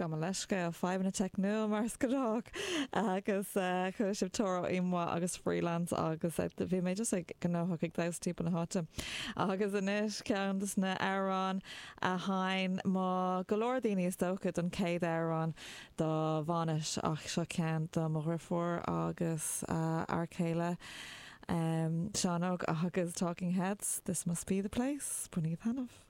Gabh mo leithscéal, fadhbanna teicniúil mar is gnách agus chuala sibh Toro y Moi agus Freelance agus bhí mé just ag gnóthach ag damhsa timpeall na háite. Agus anois ceann des na amhráin a sheinn mo go leor daoine is dócha don chéad amhrán dá bhainis ach seo ceann do mo dhriofúr agus a fhear céile Seán Óg agus Talking Heads, This Must Be The Place, Bainigí taitneamh.